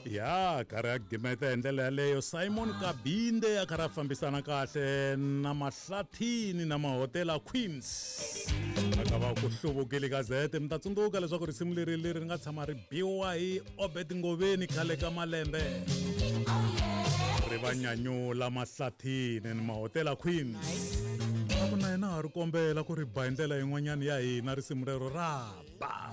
Ya karhi ya gimeta hi ndlela yaleyo. Simon Kabinde a karhi a fambisana kahle na Mahlathini na Mahotela Queens, a ka va ku hluvukile gazete. Mi ta tsundzuka leswaku risimu leri leri ri nga tshama ri biwa hi Obed Ngoveni khale ka malembe, ri va nyanyula Mahlathini ni Mahotela Queens. A ku na yena ha ri kombela ku ri ba hi ndlela yin'wanyana ya hina risimu rero ra ba.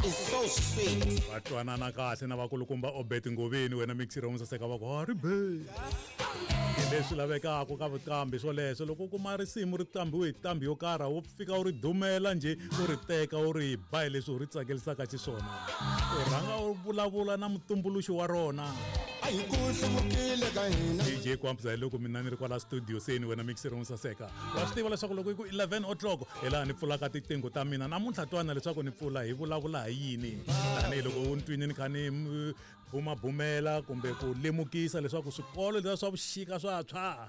It's so sweet. Va twanana kahle na vakulukumba Obed Ngoveni. Wena mixiro musaseka va ku ha ri be hi leswi lavekaka ka vuqambi swoleswo. Loko u kuma risimu ri qambiwe hi qambi yo karhi, wo fika u ri dumela njhe, u ri teka u ri ba hi leswi u ri tsakelisaka xiswona, u rhanga u vulavula na mutumbuluxi wa rona. A hi ku hluvukile ka hina. DJ Kwamza, hi loko mina ni ri kwala studio seni. Wena mixero musaseka, wa swi tiva leswaku loko yi ku 11 o'clock hi laha ni pfulaka tiqingho ta mina namuntlha. Twana leswaku ni pfula hi vulavula hi yini, tanihiloko u ni twini ni kha ni bumabumela kumbe ku lemukisa leswaku swikolo leswi swa vuxika swa tshwa.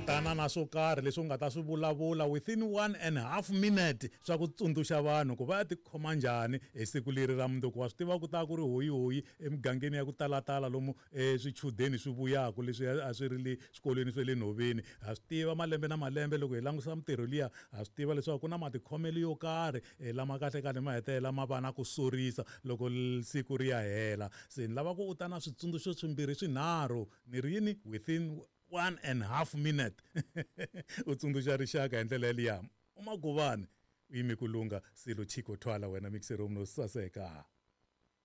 Tana na swo karhi leswi u nga ta swi vulavula within 1.5 minute swa ku tsundzuxa vanhu ku va ya tikhoma njhani hi siku leri ra mundzuku. Wa swi tiva ku ta ku ri hoyihoyi emigangeni ya ku talatala lomu swichudeni swi vuyaka leswi a swi ri le swikolweni swa le nhoveni. Ha swi tiva malembe na malembe loko hi langusa mintirho liya, ha swi tiva leswaku ku na matikhomelo yo karhi lama kahle kahle ma hetelela ma va na ku sorisa loko siku ri ya hela. Se ni lava ku u ta na switsundzuxo swimbirhi swinharhu, ni ri yini, within 1.5 minute u tsundzuxa rixaka hi ndlela yaliya. Umaguvani u yime ku lunga silo chiko thwala wena mixero no saseka.